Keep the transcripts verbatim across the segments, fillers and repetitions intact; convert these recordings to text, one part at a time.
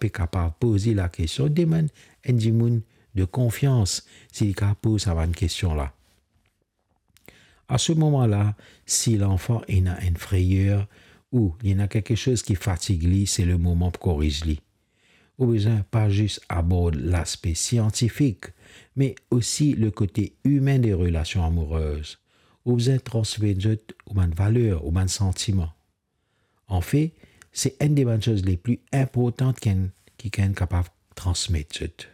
pe kapav poz li lakestion, demann enn dimoun de konfians si li kapav poz sa bann kestion la. A se moman la, si lanfan ena enn freyer ou li ena kiksoz ki fatig li, se le moman pou koriz li. Ou bizin pa zis abord laspe siantifik, me osi le kote imin de relasion amourez. Ou bizin transmet zot ou bann valer, ou bann santiman. Anfet, se enn de bann soz le pli inportan ki enn, ki enn kapav transmet zot.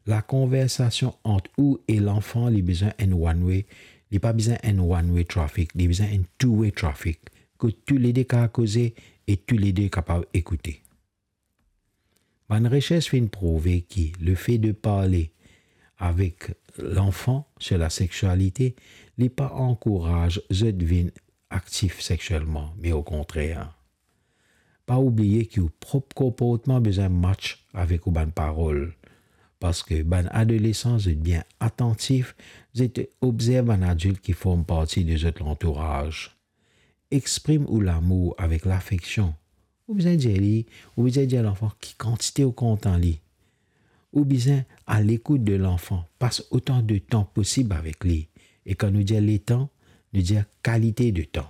Lakonversasion ant ou e lanfan, li bizin enn one way, li pa bizin enn one way traffic, li bizin enn two way traffic, kot toulede kapav koze e toulede kapav ekoute. Bann resers finn prouve ki le fe de parle avek lanfan sur la seksualite, li pa ankouraz zot vinn aktif sekselman, me okontrer. Pa oubliye ki ou prop konportman bizin match avek ou bann parol, parski bann adolesan, zot bien atantif, zot obzerv bann adilt ki form parti de zot lantouraz. Exprim ou lamour avek lafeksion. Ou bizin dir li, ou bizin dir lanfan ki kantite ou kontan li. Ou bizin a lekout de lanfan, pas otan de tan posib avek li. E kan nou dir letan, nou dir kalite de tan.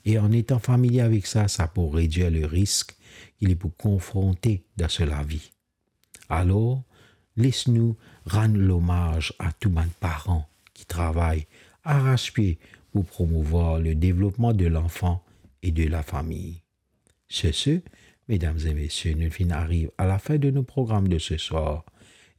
E an etan familie avek sa, sa pou redir le risk ki li pou konfronte dan so lavi. Alor, les nou rann lomaz a tou bann paran ki travay aras-pie pou promouvwar le devlopman de lanfan e de lafami. Sur ce, medam e mesie, nou finn ariv a lafin de nou program de se swar.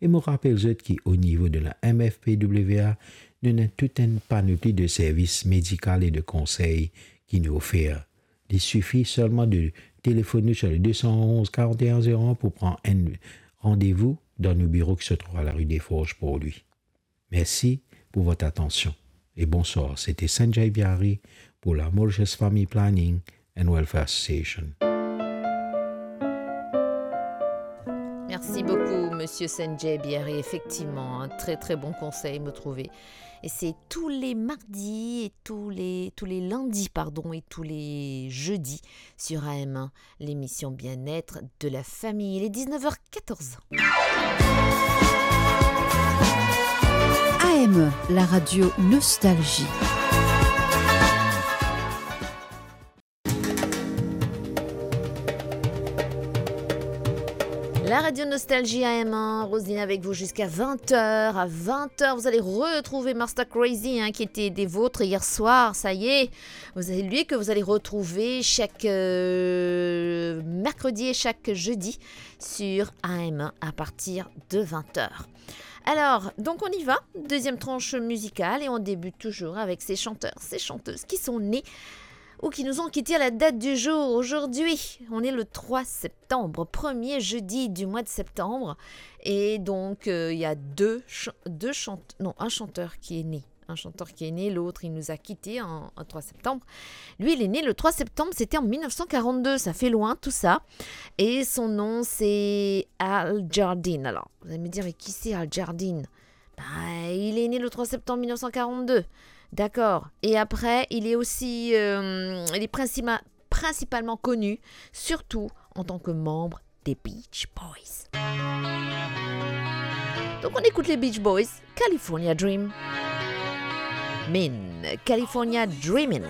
E mo rapel zot ki o nivo de la M F P W A, nou ena tou enn panopli de servis medikal e de konsey ki nou ofer. Li sifi selman de telefonn nou sur le deux cent onze quarante et un zéro un pou pran enn randevou dan nou biro ki se trouv a la rue des Forges pour lui. Merci pour votre attention et bonsoir. C'était Sanjay Biari pour la Mauritius Family Planning and Welfare Association. Merci beaucoup, monsieur Sanjay Biari. Effectivement, un très, très bon conseil, me trouver. Et c'est tous les mardis et tous les, tous les lundis, pardon, et tous les jeudis sur A M un, l'émission Bien-être de la famille. Il est dix-neuf heures quatorze. A M, la radio Nostalgie. La radio Nostalgie A M un, Roselyne avec vous jusqu'à vingt heures. À vingt heures, vous allez retrouver Master Crazy, hein, qui était des vôtres hier soir, ça y est. Vous allez, lui que vous allez retrouver chaque, euh, mercredi et chaque jeudi sur A M un à partir de vingt heures. Alors, donc on y va, deuxième tranche musicale, et on débute toujours avec ces chanteurs, ces chanteuses qui sont nés ou qui nous ont quittés à la date du jour. Aujourd'hui, on est le trois septembre, premier jeudi du mois de septembre, et donc, euh, il y a deux ch-, deux chante-, non, un chanteur qui est né. Un chanteur qui est né, l'autre, il nous a quittés en, en trois septembre. Lui, il est né le trois septembre, c'était en mille neuf cent quarante-deux, ça fait loin tout ça. Et son nom, c'est Al Jardine. Alors, vous allez me dire, mais qui c'est Al Jardine ? Ben, il est né le trois septembre mille neuf cent quarante-deux. D'accord. Et après, il est aussi, euh, il est principa-, principalement connu, surtout en tant que membre des Beach Boys. Donc on écoute les Beach Boys, California Dream. Min, California Dreamin'.